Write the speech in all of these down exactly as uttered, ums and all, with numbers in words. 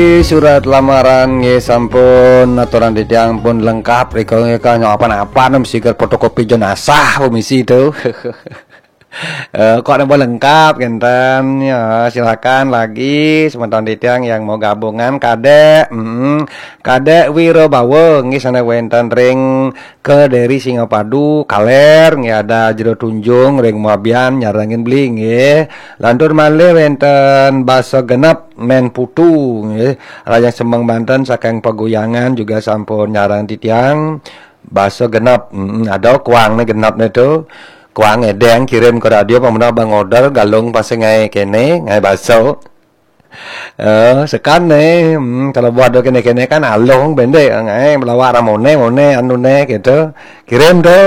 Surat lamaran nggih sampun, aturan titiang pun lengkap, rika nggih, kanya apa-apa nem sigar fotokopi jenazah pemisi itu. Eh, kok nambah lengkap kenten ya, silakan lagi semeton titiang yang mau gabungan. Kadek, mm, Kadek Wirobawa nggih sana wenten ring Kediri Singapadu, Kaler nggih, ada Jero Tunjung ring Muabian nyarengin beli nggih. Lantur malih wenten Basa Genep Men Putu nggih, Rajang Semeng Banten saking Paguyangan juga sampun nyarang titiang. Basa Genep, mm, ada kuang ne genep ne tu. Kuang edeng kirim ke radio, pamuna bang order galung pasal ngai kene, ngai baso. Eh, sekan ne, hmm, kalau buat do kene-kene kan alung bendek, ngai melawak ramone, mone, anu ne, gitu. Kirim tu.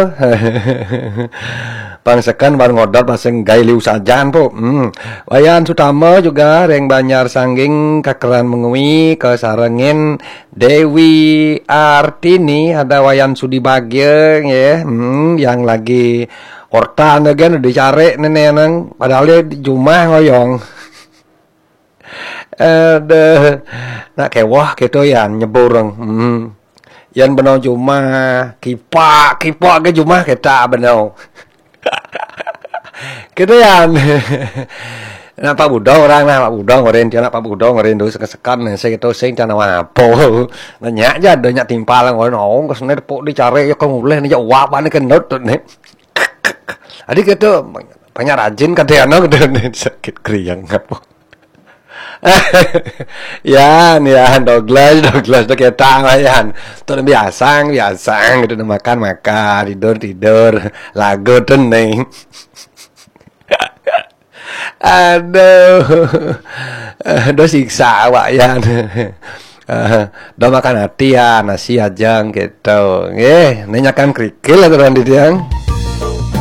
Pang sekan bar ngodot pasang gai liu sajan po. Hmm. Wayan Sutama juga ring Banjar Sangging kakeran mengui kasarengin Dewi Artini, ada Wayan Sudi Bagia nggih. Hmm, yang lagi ortan agen dicari nene nang, padahal dia di jumah ngoyong. Aduh, nak kewah gitu ya nyebur. Hmm. Yan benau jumah, kipak, kipak ke jumah kita benau. Gitu ya. Nak Pak Budong orang nah, Pak Budong orang dia nak Pak Budong orang tu sekan-sekan nih, saya gitu sing cana apa. Nanya aja ada nyak timpal orang orang ke sini tepuk dicari ya kau mulai nih jawab ni kendut tu nih. Adi gitu banyak rajin kadang gitu nih sakit keriang apa. Yan, yan, Douglas, Douglas tu kita lah yan. Tu biasa, biasa gitu, makan, makan, tidur, tidur, lagu tu nih. Aduh. Aduh siksa awak yan. Eh, dah makan hati ya, nasi aja gitu. Eh, nanyakan kerikil aturan di tiang.